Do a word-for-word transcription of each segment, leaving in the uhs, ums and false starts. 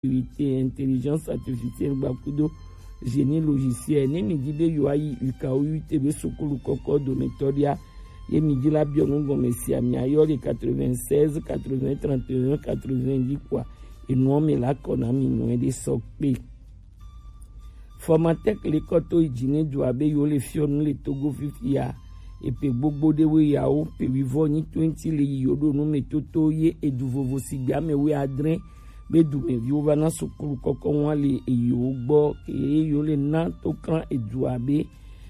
sécurité, intelligence artificielle gbakudo génie logiciel. Ne mi di be yo ayi U K O U T be sukulu kɔkɔ dometɔ dia, ye mi di la biɔ nu gɔme sia mi ayɔ le quatre-vingt-seize, quatre-vingts, trente et un, quatre-vingts di kua. Enua mi la kɔ na mi nu de sɔ kpe. Formatec le kɔto yi dzi ne dua be yo le fiɔ nu le Togo fifia. Epe gbogbo ɖewo yawo pe wivɔ nyi twenty le yi yo ɖo nu me toto ye edu vovo si gbe ame wi adre be dumeviwo va na sukulu kɔkɔ ŋua le eyiwo gbɔ ke yo le na to kran edua be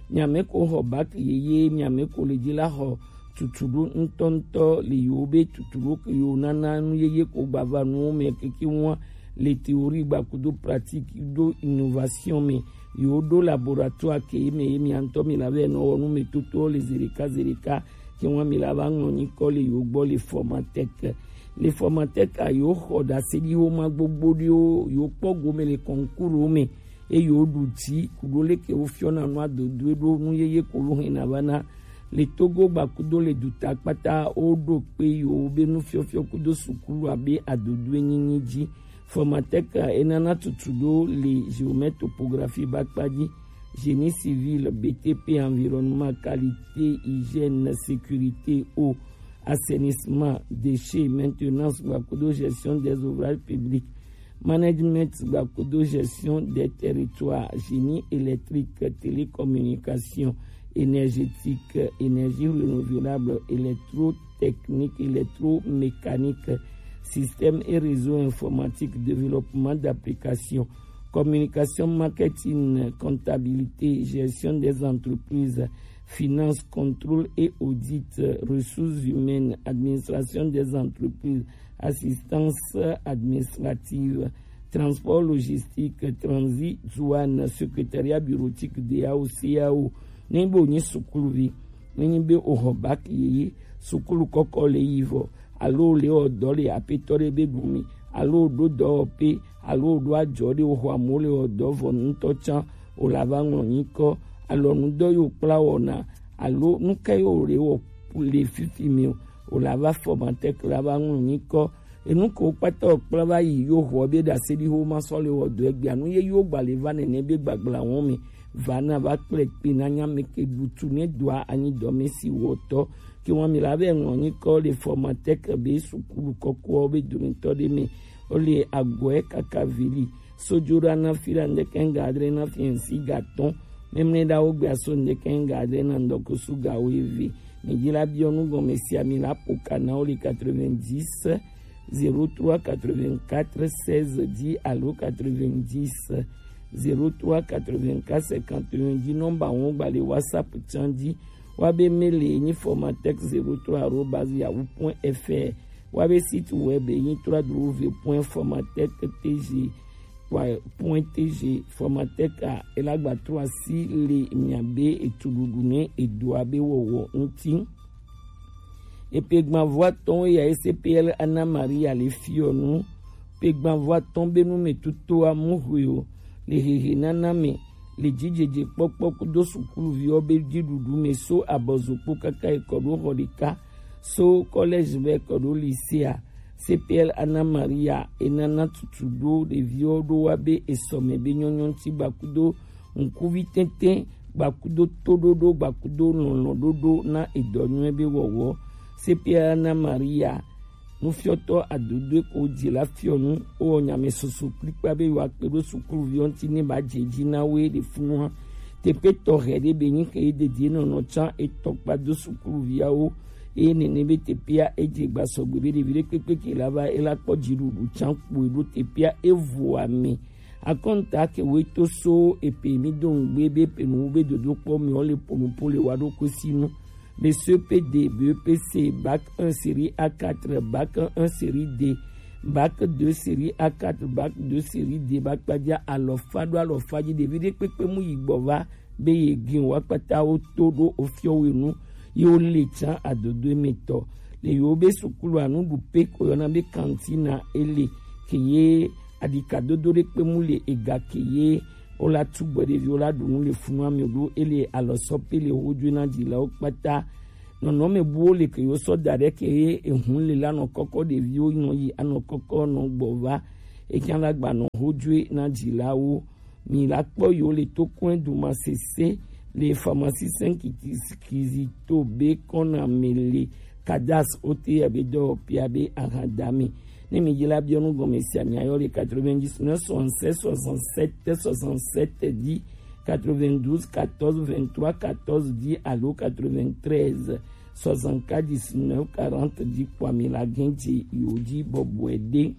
miame ko xɔ bac yeye, miame ko le dzi la xɔ tutuɖo ŋutɔŋutɔ le yewo be tutuɖo ke yewo nana nu yeye ko gbava nuwo me keke ŋua le théorie gbakudo pratique do innovation me. Yewo ɖo laboratoire ke ye me ye mia ŋutɔ mi la vɛ nɔ wɔ nu me toto le zeɖeka zeɖeka ke ŋua mi la va ŋlɔ nyikɔ le yewo gbɔ le Formatec. Le Formatec a yewo xɔ ɖaseɖiwo ma gbogbo ɖewo yewo kpɔ gome le concours me eye woɖu dzi ku ɖo leke wofiɔna nu adodoe ɖo nu yeye ko lo hɛna va na le Togo gbakudo le duta kpata woɖo kpe yewo be nufiɔfiɔ kudo sukulu abe adodoe nyinyi dzi. Formatec enana tutu ɖo le géomètre topographie ba kpa dzi, génie civil, B T P, environnement, qualité, hygiène, sécurité, eau, assainissement, déchets, maintenance gbakudo gestion des ouvrages publics, management gbakudo gestion des territoires, génie électrique, télécommunication, énergétique, énergie renouvelable, électrotechnique, électromécanique, système et réseau informatique, développement d'applications, communication, marketing, comptabilité, gestion des entreprises, finance, contrôle et audit, ressources humaines, administration des entreprises, assistance administrative, transport logistique, transit, douane, secrétariat bureautique, D A O, C A O. Ne be wonyi sukuluvi, ne nyi be woxɔ bac yeye, sukulu kɔkɔ le yi vɔ, alo le wɔ dɔ le aƒetɔ ɖe be ɖu mi, alo ɖo dɔwɔƒe, alo ɖo adzɔ ɖe woxɔ amewo le wɔ dɔ vɔ ŋutɔ tsã, wòle va ŋlɔ nyikɔ. Alɔnudɔ yiwo kpla wɔna, alo nuka yiwo le wɔ le fifi mi o, wòle va Formatec la va ŋlɔ nyikɔ. Enu ko kpata wokpla va yi yo xɔ be ɖaseɖiho ma sɔ le wɔ dɔ egbea nu ye yo gba le va nene be gbagbla wɔn mi va na va kple kpe na nya me ke ɖutu ne doa anyi dɔ me si wɔtɔ ke wɔn mi la be ŋlɔ nyikɔ le Formatec be sukulu kɔkɔ be dometɔ ɖe me. Wole agɔe kaka vili. Sojoɖa na fi la ŋdeke ŋga adre na fi ŋsi ga tɔn. Memle ɖa wo gbea so ŋdeke ŋga adre na ŋdɔkusu ga wo eve. Mi dzi la biɔ nu gɔme sia mi la po ka na wo le quatre-vingt-dix, zéro trois, quatre-vingt-quatre, seize, dix alo quatre-vingt-dix, zéro trois, quatre-vingt-quatre, cinquante et un, dix nɔmba wo gba le WhatsApp tsan dzi. Wa be mail ye nyi formatech zéro trois arobase yahoo point F R. Wa be site web ye nyi trois W point formatech T G point T G. Formatech a ela gba trɔ asi le mia be etuɖuɖu ne edoa be wɔwɔ ŋuti. Epe gbanvɔ atɔ̃ ya ye C P L Anna Maria le fiɔ nu. Pe gbanvɔ atɔ̃ be nu me tuto amu hwe o le hehe nana me le dzidzedze kpɔkpɔ kudo sukuluviwo be dziɖuɖu me so abɔzokpo kaka ekɔ ɖo xɔ ɖeka so collège be ekɔ ɖo lycée a. C P L Anna Maria enana tutu ɖo ɖeviwo ɖo wa be esɔme be nyɔnyɔ ŋuti gbakudo ŋkuvi tɛntɛn gbakudo toɖoɖo gbakudo lɔlɔ̃ɖoɖo na edɔ nyuie be wɔwɔ. C P L Anna Maria nufiɔtɔ adodoe ko dzi la fiɔ nu wowɔ nyame soso kplikpa be yewoakpe ɖo sukuluviwo ŋuti ne ba dze dzi na wo ɖe funua. Teƒe tɔxɛ ɖe be nyi ke ye dedie nɔnɔ tsã etɔ kpa do sukuluviawo eye nene be teƒea edze gbasɔgbe be ɖevi ɖe kpekpe ke la va ela kpɔ dziɖuɖu tsã kpoe ɖo teƒea evo ame. Akɔnta ke woe to so epe mi do ŋgbe be pe nuwo be dodokpɔ me wo le ponupo le wa ɖo kosi nu. Le C P D, B E P C, bac un série A quatre, bac un série D, bac deux série A quatre, bac deux série D, ba kpadza alɔfa ɖo alɔfa dzi ɖevi ɖe kpekpe mu yi gbɔ va be ye gin wa kpata wo to ɖo ofiɔ we nu ye wo le tsã adodo emetɔ. Le yewo be sukulu anu ɖu pe ko yɔna be kantina ele ke ye aɖikadodo ɖe kpe mu le ega ke ye wola tu gbɔ ɖeviwo la ɖu nu le funua me ɖo ele alɔsɔ pe le wo dzoe na dzilawo kpata. Nɔnɔme buwo le ke yewo sɔ da ɖe ke ye ehun le la nɔ kɔkɔ ɖeviwo nɔ yi anɔ kɔkɔ nɔ gbɔ va. Ekan la gba nɔ ho jue na ji la wo. Mi la kpɔ yo le to kɔn du ma sese le pharmacie cinq kizito be kɔn na me le kadas ote ya be dɔ pia be ahadami. Ne mi jela biɔ nu gɔme sia mi ayɔ le quatre-vingt-dix-neuf soixante-seize soixante-sept soixante-sept dix, quatre-vingt-douze quatorze vingt-trois quatorze dix alo quatre-vingt-treize soixante-quatre dix-neuf quarante dix kpɔ mi la gɛnji yo ji bɔbɔe de.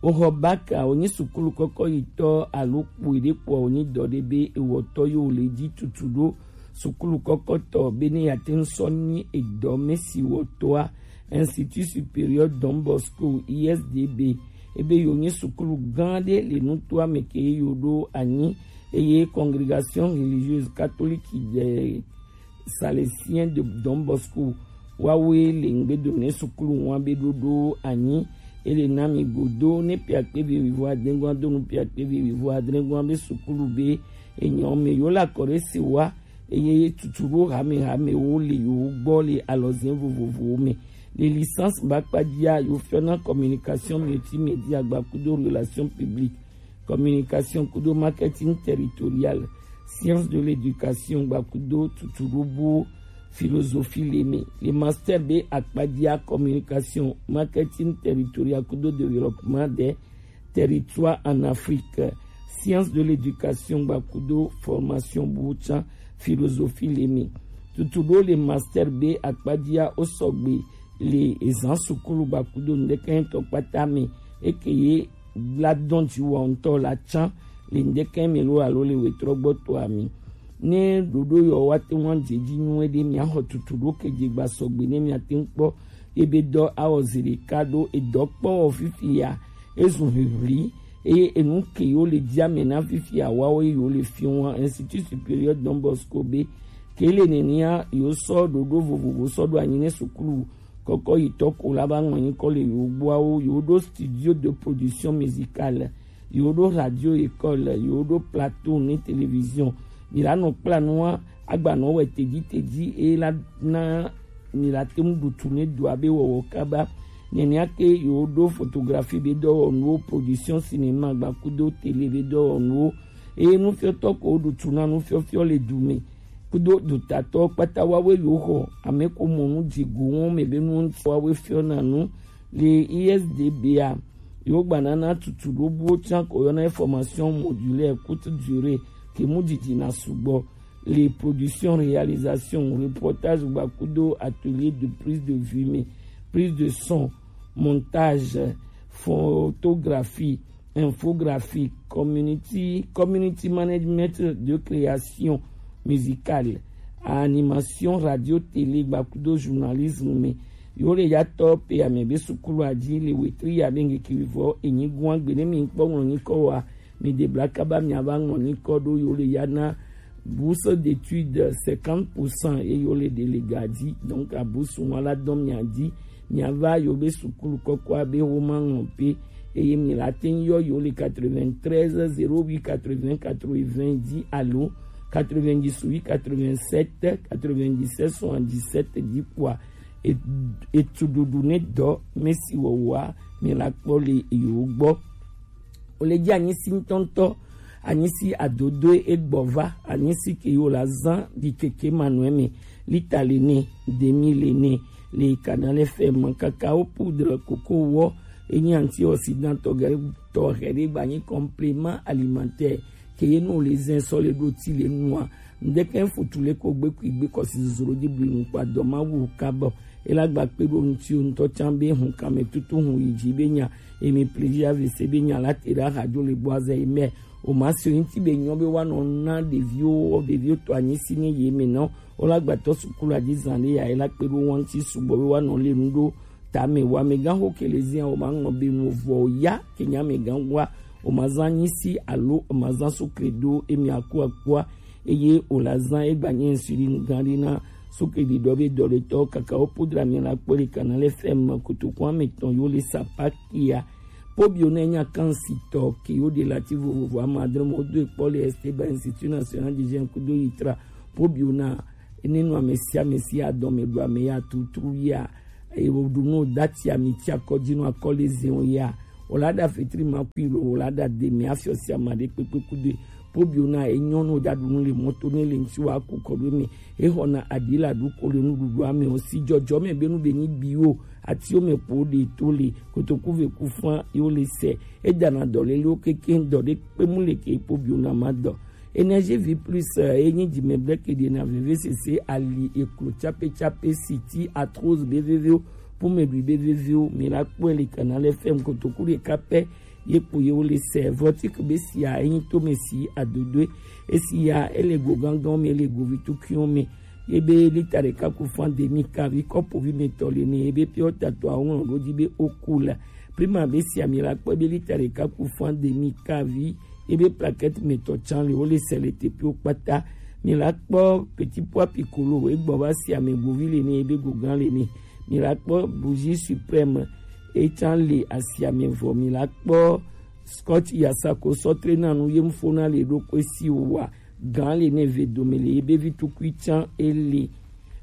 Oxɔ baka wonyi sukulu kɔkɔ yitɔ alo kpoe ɖe kpɔ wonyi dɔ ɖe be ewɔtɔ yo le ji tutu ɖo sukulu kɔkɔtɔ be ne ya te ŋu sɔ nyi edɔ mɛ si wɔtɔa Institut Supérieur Don Bosco I S D B ebe yo nyi sukulu gã ɖe le nutoa me ke yo ɖo anyi eye Congrégation Religieuse Catholique de Salésien de Don Bosco wawoe le ŋgbedo ne sukulu wa be ɖoɖo anyi ele na mi godo ne piakpe be wivo adrɛngua do nu piakpe be wivo adrɛngua be sukulu be enyɔ me yo la kɔ ɖe se wa eye tutu ɖo hame hame wo le yo gbɔ le alɔzin vovovowo me. Le licence ba kpajia yo fiɔ na communication multimédia gbakudo relation publique, communication kudo marketing territorial, science de l'éducation gbakudo tutuɖobuwo, philosophie le me. Le master be akpajia communication, marketing territorial kudo développement des territoires en Afrique, science de l'éducation gbakudo formation buwo can, philosophie le me. Tutuɖo le master be akpajia wo sɔgbe le ezan sukulu gbakudo ŋdekɛntɔ kpata me eke ye la dɔn ji wɔ ŋutɔ la can le ŋdekɛ me lo alo le wetrɔ gbɔtɔ ami. Ne ɖoɖo yɔ wa te ŋu dze ji nyuie ɖe mia xɔ tutuɖo ke dze gba sɔgbe ne mia te ŋu kpɔ ebe dɔ awɔ zi ɖeka ɖo edɔ kpɔ wɔ fifi ya ezu ʋiʋli eye enu ke yo le ji ame na fifi ya wawo ye yo le fi wa Institut Supérieur Don Bosco be ke le nenia yo sɔ ɖoɖo vovovo sɔ ɖo anyi ne sukulu kɔkɔ yitɔ ko la ba ŋlɔ nyikɔ le yo gboawo yo ɖo studio de production musicale yo ɖo radio école yo ɖo plateau ne télévision mi la nɔ kpla nua agba nɔ wɛ tedzi tedzi e la na mi la te ŋu ɖutu ne dua be wɔwɔ kaba nenia ke yo ɖo photographie be dɔwɔnuwo production cinéma gbakudo télé be dɔwɔnuwo eye nufiɔtɔ ko ɖutu na nufiɔfiɔ le du me kudo dotatɔ kpata wawoe yo xɔ ame ko mɔ nu dzigo wɔn me be nu ŋuti wawoe fiɔ na nu le I S D B a yo gba nana tutu ɖobuwo can ko yɔna formation modulaire courte durée ke mu didi na sugbɔ le production réalisation reportage gbakudo atelier de prise de vue me prise de son montage photographie infographie community community management de création musicale animation radio télé gbakudo journalisme me yo le ya tɔ pe ame be sukulu aji le wetri ya be ŋgeke vɔ enyi gua gbe ne mi kpɔ ŋlɔ nyikɔ wa mi de bla kaba mi ava ŋlɔ nyikɔ ɖo yo le ya na bourse d'études cinquante pour cent eye yo le de le ga dzi donc bourse wa la dɔn mia dzi mia va yo be sukulu kɔkɔa be wo ma ŋlɔ pe eye mi la te ŋu yɔ yo le quatre-vingt-treize zéro huit quatre-vingts quatre-vingts dzi alo quatre-vingt-dix-huit quatre-vingt-sept quatre-vingt-dix-sept soixante-dix-sept dzi kpɔa etu ɖuɖu ne dɔ mesi wɔwɔa mi la kpɔ le yo gbɔ. O le dzi anyisi ŋutɔŋutɔ anyisi adodoe egbɔ va anyisi ke yo la zan ɖi keke manɔe me lita le ne demi le ne le Canal F M cacao poudre koko wɔ enyi antioxydant tɔgɛ tɔxɛ ɖe gba nyi complément alimentaire ke ye no le zɛn sɔ le ɖo ti le nua ŋdɛkɛ futu le ko gbe kui gbe kɔsi zozoro di bli nu kpa dɔ ma wu kabɔ ela gba kpe ɖo ŋuti ŋutɔ can be hun kame tutu hun yi dzi be nya emi pliji avese be nya la te ɖe ahadzo le gbɔ azɛ yi mɛ o ma si ŋuti be nyɔ be wa nɔ na ɖeviwo ɖeviwo tɔ anyi si ne ye me nɔ o la gbatɔ sukulu adzi zan ɖe ya ela kpe ɖo wa ŋuti sugbɔ be wa nɔ le nu ɖo tame wa me gan ho ke le zia o ma ŋɔ be nu vɔ ya ke nya me gan wa o ma zan anyi si alo o ma zan sukle ɖo emi aku akua eye wòle azã egba nye ŋsui ɖi nu gã ɖi na sukli ɖiɖɔ be dɔɖetɔ kaka wo podra mi la kpɔ ɖi kana le fɛm me kotokua me tɔn yo le sapa kia po bio ne nya kan si tɔ ke yo de lati vovovo ama adre mo do ekpɔ le Esteban Institut National du Jeune kudo yitra po bio na ene nu ame sia ame si adɔme ɖu ame ya tutru ya eye woɖu nu dati ami ti akɔ dzi nu akɔ le zɛn ya Wòla ɖa fetri ma kui lo, wòla ɖa de mi afiɔ sia ma ɖe kpekpe kudo. Pobio na enyɔ no ɖa ɖu nu le mɔto ne le ŋuti wa ku kɔ ɖo me. Exɔ na aɖi la ɖu ko le nuɖuɖua me o si jɔjɔ me be nu be ni bi o. Atiwo me po ɖe to le kotoku ve ku fã yo le se. Edana dɔ lelewo keke dɔ ɖe kpe mu le ke pobio na ma dɔ. Énergie Vie Plus, eh, enyi dzimɛblɛke ɖe na vevesese ali eklo tsape tsape siti arthrose be vevewo, pomedui be vevewo, mi la kpɔe le Canal F M kotoku ɖeka pɛ ye kpo ye wo le se. Vortic be sia enyi to me si adodoe. Esi ya ele go gangan me, ele go vitukuiwo me. Ye be lita ɖeka ku fã demi kavi kɔpovi me tɔ le ne ye be piɔ tatɔ awo ŋlɔ ɖo dzi be oku la. Prima be sia mi la kpɔe be lita ɖeka ku fã demi kavi ye be plaquette me tɔ tsan le wo le se le tepiwo kpata. Mi la kpɔ petit pois piccolo egbɔ va sia me govi le ne ye be gogan le ne. Mi la kpɔ bougie suprême etsan le asia me vɔ. Mi la kpɔ scotch yasako sɔtre na nu ye mfo na le ɖo kpe si wa gan le ne ve dome le ye be vitukui tsan ele.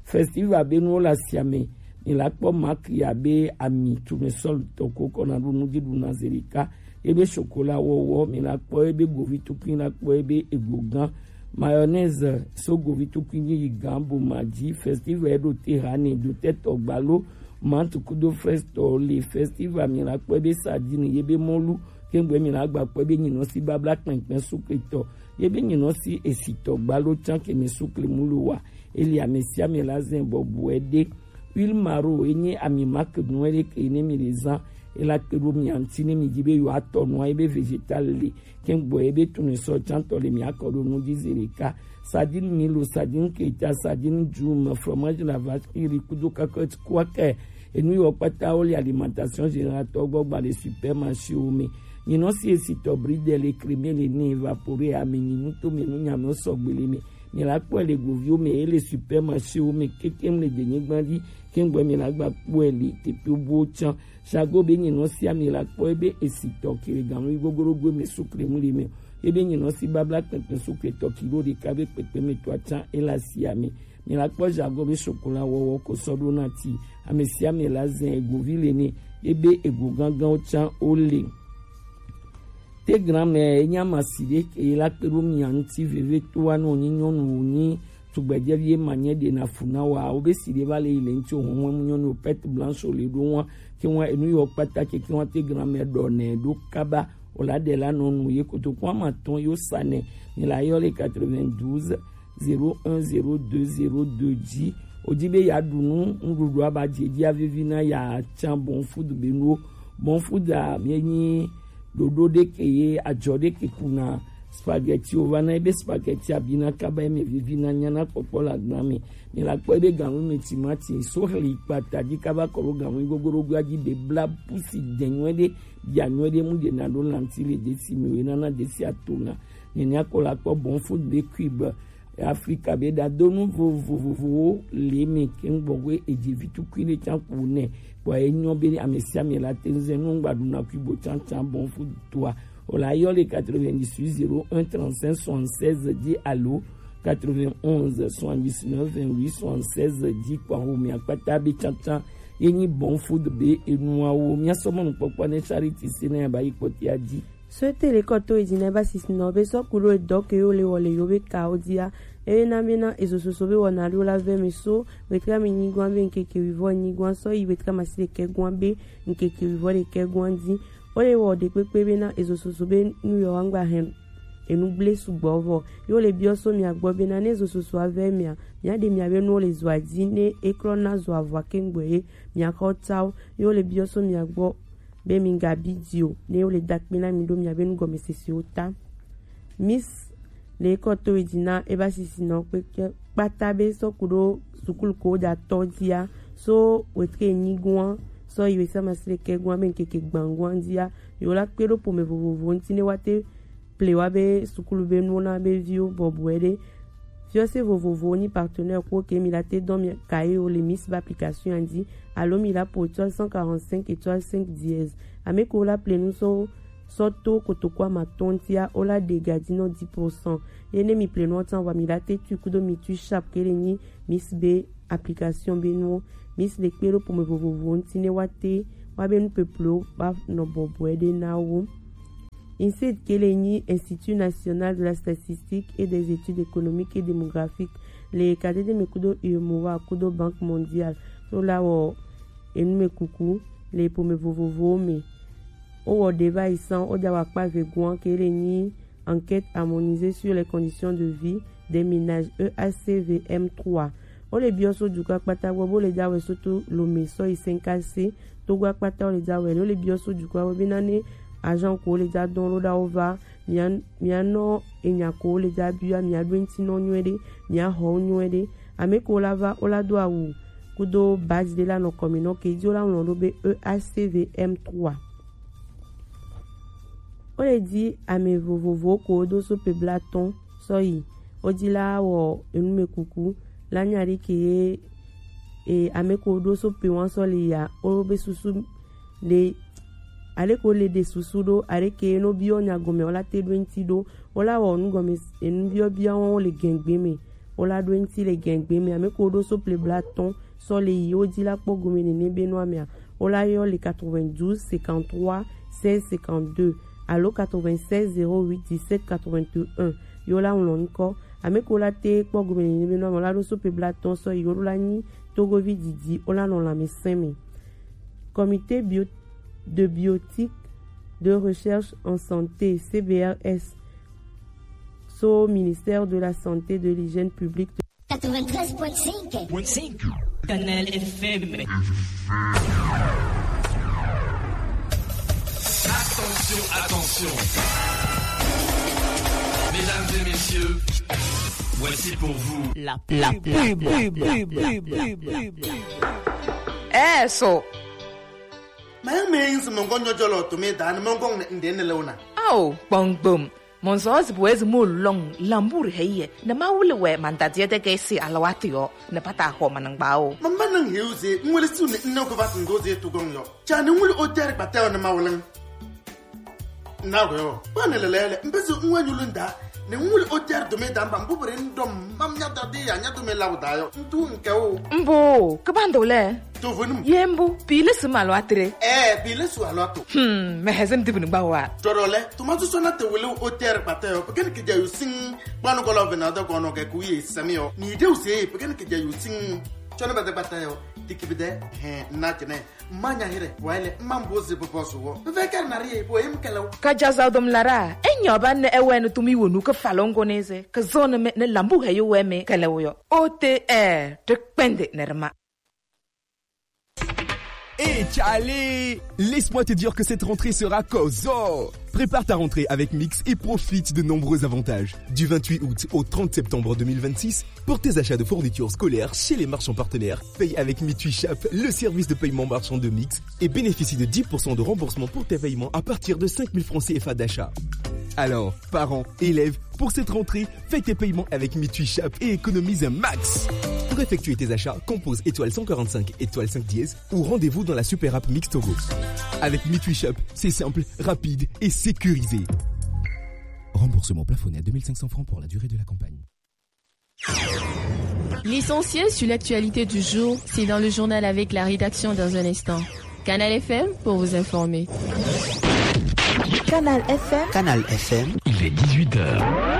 Festival be nuwo le asia me. Mi la kpɔ marque ya be ami tume sɔl tɔ ko kɔ na ɖo nu dzi ɖu na zerika. Ye be chocolat wɔwɔ, mi la kpɔ ye be govi tukui la kpɔ ye be ego gan. Mayonnaise so govi tukui ni yi gan bo ma dzi. Festival ye ɖo te ha ne do te tɔ gbalo. Mant kudo fresh tɔ le festival mi la kpɔ ye be sardine ye be mɔlu. Kengbe mi la gba kpɔ ye be nyinɔ si babla kpɛnkpɛn sukle tɔ. Ye be nyinɔ si esi tɔ gbalo tsan ke mi sukle mu lo wa. Eli ame sia ame la zɛn bɔbɔe ɖe. Huile maro enye ami marque nu ɖe ke ne mi le zan. Ela kpe ɖo mia ŋuti ne mi dzi be yewoatɔ nua ye be vegetal le. Kengbe ye be tunu sɔ tsantɔ le mia kɔ ɖo nu dzi zi ɖeka. Sardine Milo, sardine keta, sardine djum, fromage la vache qui rit kudo cacahuète kuakɛ. Enu yiwo kpata wo le alimentation générale tɔ gbɔ gba le supermarché wo me. Nyinɔ si esi tɔ bridel le crème le ne évaporé ame nyi nu to me nu nyame wo sɔgbe le me. Mi la kpɔe le goviwo me, ele supermarché wo me kekem le denyigba dzi, kengbe mi la gba kpɔe le teƒe buwo tsã. Jago be nyinɔ sia mi la kpɔe be esi tɔ kiri ganu yi gogorogo me sukle mu le me. Ebe nyinɔ si babla kpekpe sukle tɔ kilo ɖeka be kpekpe me tɔ tsã ele asia me. Mi la kpɔ jago be sokola wɔwɔ ko sɔ ɖo na ti. Ame sia ame la zɛ egovi le ne, ebe ego ganganwo tsã wo le. Te granmɛ enya masi ɖe ke la kpe ɖo mia ŋuti veve to wa no nyi nyɔnu wo nyi tugbedzevi ye ma nye ɖe na fu na wa wo be si ɖe va le yi le ŋuti o hɔn mu nyɔnu pet blanche le ɖo wa ke wa enu yɔ kpata ke ke wa te granmɛ ɖɔ nɛ ɖo kaba o la ɖe la nɔ nu ye koto ko ama tɔn yo sa nɛ ni la yɔ le quatre-vingt-douze zéro un zéro deux zéro deux dzi. Wòdi be yeaɖu nu nuɖuɖua ba dzi dzi avivi na yeatsa Bon Food be nuwo. Bon Food a mienyi ɖoɖo ɖe ke ye adzɔ ɖe ke kuna spaghetti wòva na ebe spaghetti abina kaba eme vivi na nyana kpɔkpɔ le agba me. Mi la kpɔ ebe ganu me timati so xli kpata dzi kaba kɔ ɖo ganu gogoɖogoa dzi be bla pusi de nyuie ɖe bia nyuie ɖe mu ɖe na ɖo lanti le desi me wòye nana desi atona. Nenia kɔ la kpɔ Bon Food be cube Afrika be ɖadonu vovovowo le me ke ŋgbɔ we edzi vitukui ɖe tsã ku nɛ. Kpɔ enyɔ be ame sia ame la te ŋu zɛ nu ŋgba ɖuna kui bo tsã tsã Bon Food toa. O la yɔ le quatre-vingt-dix-huit zéro un trente-cinq soixante-seize dzi alo quatre-vingt-onze soixante-dix-neuf vingt-huit soixante-seize dzi kpɔ ho mi akpata be tsã tsã ye nyi Bon Food be enuawo. Mia sɔ mɔnukpɔkpɔ ne Charity Sena ya ba yi kpɔtia dzi. Sɔete le kɔto edzi na eba sisi na be sɔ ku ɖo edɔ ke yo le wɔ le yo be kawo dzia. Eye na be na ezo soso be wɔna ɖo la vɛ me so wetra me nyigɔa be ŋkeke wivɔ nyigɔa sɔ yi wetra masi ɖekɛ gɔa be ŋkeke wivɔ ɖekɛ gɔa dzi. Wo le wɔ ɖe kpekpe be na ezo soso be nu yɔ wa ŋgba hɛn enu gble sugbɔ vɔ. Yo le biɔ so mia gbɔ be na ne ezo soso avɛ mia mia ɖe mia be nuwo le zoa dzi ne eklɔ na zoa vɔa ke ŋgbɔ ye mia xɔ tawo. Yo le biɔ so mia gbɔ be mi ga bi di o ne wo le da kpe na mi ɖo mia be nugɔmesesewo ta. Miss le kɔ to yi dzi na eba sisi na kpekpe kpata be sɔ ku ɖo sukulu ko da tɔ dzia so wetre nyi gua sɔ yi wesa masile ke gua be ŋkeke gban gua dzia yo la kpe ɖo pome vovovo ŋti ne wa te ple wa be sukulu be nuwo na be viwo bɔbɔe ɖe. Fiɔse vovovowo nyi partenaire kuwo ke mi la te dɔn mi kayewo le Miss be application ya dzi alo mi la po étoile cent quarante-cinq étoile cinq dièse. Ame kewo la ple nu sɔ sɔ to kotoku amatɔn ŋtia wo la ɖe gadinɔ dix pour cent. Ye ne mi ple nuɔ tsan vɔa mi la te tui kudo mi tui sharp ke le nyi Miss be application be nuwo. Miss le kpe ɖo pome vovovowo ŋti ne wa te wa be nu peplo ba nɔ bɔbɔe ɖe na wo. INSEE ke le nyi Institut National de la Statistique et des Études Économiques et Démographiques le ka dede me kudo UEMOA kudo Banque Mondiale to la wɔ enu me kuku le ƒome vovovowo me. Wowɔ ɖe va yi san woda wɔ akpa ve goa ke le nyi Enquête harmonisée sur les conditions de vie des ménages, E A C V M trois. Wo le biɔ so dukɔ akpata gbɔ bo le da wɛ so to Lomé sɔ yi Sɛnkase, Togo akpata wo le da wɛ. Wo le biɔ so dukɔ gbɔ be na ne agent ko wo le da dɔn lo da wo va, mia mia nɔ enya ko wo le da bia, mia ɖo ŋuti nɔ nyuie ɖe, mia xɔ wo nyuie ɖe. Ame ko la va wo la do awu kudo badge ɖe la nɔ kɔmi nɔ ke dzi wo la ŋlɔ ɖo be E A C V M trois. Wo le di ame vovovowo ko do so pe blatɔn sɔ yi. Wo di la wɔ enu me kuku la nya ɖe ke ye e, ame ko do so pe wan sɔ le ya wo be susu le ale ko le ɖe susu ɖo ale ke no biɔ nya gɔme wo la te ɖo ŋuti ɖo. Wo la wɔ nu gɔme enu biɔ biɔ wo le gɛngbe me. Wo la ɖo ŋuti le gɛngbe me. Ame ko ɖo so pe blatɔn sɔ le yi wo di la kpɔ gome nene be nua mea, wo la yɔ le quatre-vingt-douze cinquante-trois seize cinquante-deux alo quatre-vingt-seize zéro huit dix-sept quatre-vingt-un. Yo la ŋlɔ ŋkɔ. Ame ko la te kpɔ gome nene be nua mea, wo la ɖo so pe blatɔn sɔ yi wo la nyi Togovi didi wo la nɔ lãmesẽ me. Comité bio, de biotique de recherche en santé, C B R S, so ministère de la Santé, de l'Hygiène publique. Quatre-vingt-treize point cinq. Point cinq. Kanal F M. Attention, attention. Mesdames et messieurs, voici pour vous la pub. La pub. Eh, so. Mɛ mɛ yin sɛ mɔnkɔ nyɔjɔ lɔ tome da ni mɔnkɔ ŋdɛ ne lɛ wona. Ao, kpɔngbom. Mɔnsɔ zi bo ezi mo lɔn lambu re heye. Ne ma wuli wɛ mandadiɛ de ke si alawati yɔ. Ne pata xɔ manangba o. Mamba nan heu ze, ŋwele su ne nne ko vat ndo ze to gɔn yɔ. Cha ne ŋwele o tɛri kpatɛ o ne ma wuli. Na wɛ o. Ba ne lele le, mbe so ŋwe nyulu nda. Ne ŋwele o tɛri dome da mba, mbu bere ndom, mam nya da de ya, nya dome la o da yɔ. Ntu nke o. Mbo, ke ba ndo le. To venu. Ye mbu, pile se malo atre. Eh, pile su alo ato. Hmm, me hezem dibini gba wa. Toro le, to ma so na te wele o tɛri kpatɛ o. Pekeni ke ja yusin, ba no kola vena da kono ke ku ye sami o. Ni de u se, pekeni ke ja yusin. Chona bata kpatɛ o. Dikibide, he, na jene. Manya here, waile, mambo ze bobo so wo. Ve kar na rie, bo em kelo. Ka jaza dom lara, enyo ba ne ewe no tumi wonu ke falongo neze, ke zone me ne lambu he yo we me kele wo yo. O T R, te kpende nerma. Hey Charlie, laisse-moi te dire que cette rentrée sera Kozo. Prépare ta rentrée avec Mix et profite de nombreux avantages. Du vingt-huit août au trente septembre deux mille vingt-six, pour tes achats de fournitures scolaires chez les marchands partenaires, paye avec Mitui Shop, le service de paiement marchand de Mix, et bénéficie de dix pour cent de remboursement pour tes paiements à partir de cinq mille francs C F A d'achat. Alors, parents, élèves, pour cette rentrée, fais tes paiements avec Mitui Shop et économise un max. Pour effectuer tes achats, compose étoile cent quarante-cinq étoile cinq dièse ou rendez-vous dans la super app Mix Togo. Avec Mitui Shop, c'est simple, rapide et sécurisé. Remboursement plafonné à deux mille cinq cents francs pour la durée de la campagne. L'essentiel sur l'actualité du jour, c'est dans le journal avec la rédaction dans un instant. Canal F M pour vous informer. Canal F M. Canal F M. Il est dix-huit heures.